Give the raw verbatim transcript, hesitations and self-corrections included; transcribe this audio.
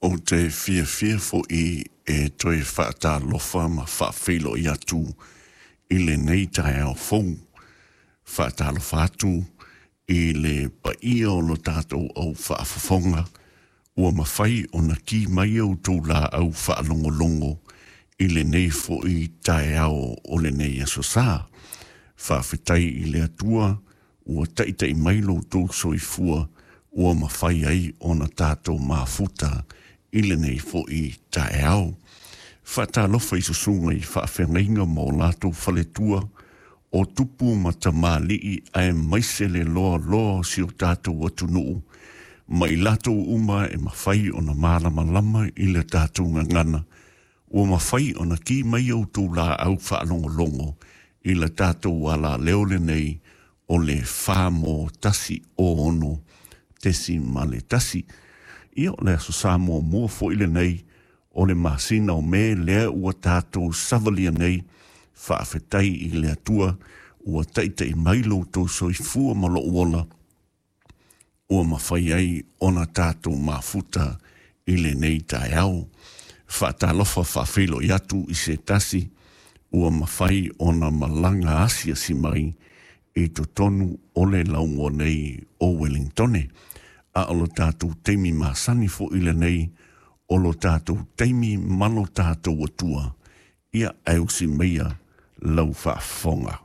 Ou te fiafia foʻi e toe faatalofa ma faafeiloai atu i lenei taeao fou. Faatalofa atu i le paia o lo tatou au faafofoga ua mafai ona ki mai outou laau faalogologo i lenei foʻi taeao o lenei aso sa. Faafetai i le Atua ua taʻitaʻi mai lo outou soifua ua mafai ai ona tatou mafuta i lenei foʻi taeao. Faatalofa i susuga i faafeagaiga ma o latou faletua o tupu ma tamalii aemaise le loaloa o si o tatou atunuu ma i latou uma e mafai ona malamalama i le tatou gagana ua mafai ona ki mai outou laau faalogologo i le tatou alaleo lenei o le fa mo tasi o ono tesi ma le tasi. Ia o le aso sa muamua foʻi lenei o le masina o Me lea ua tatou savalia nei. Faafetai i le Atua ua taʻitaʻi mai lo outou soifua ma lou ola ua mafai ai ona tatou mafuta i lenei taeao. Faatalofa faafeiloai atu i se tasi ua mafai ona malaga asiasi mai i totonu o le laumua nei o Wellingtone. A o lo tatou taimi masani foʻi lenei o lo tatou taimi ma lo tatou Atua. Ia ae usi maia lau faafofoga.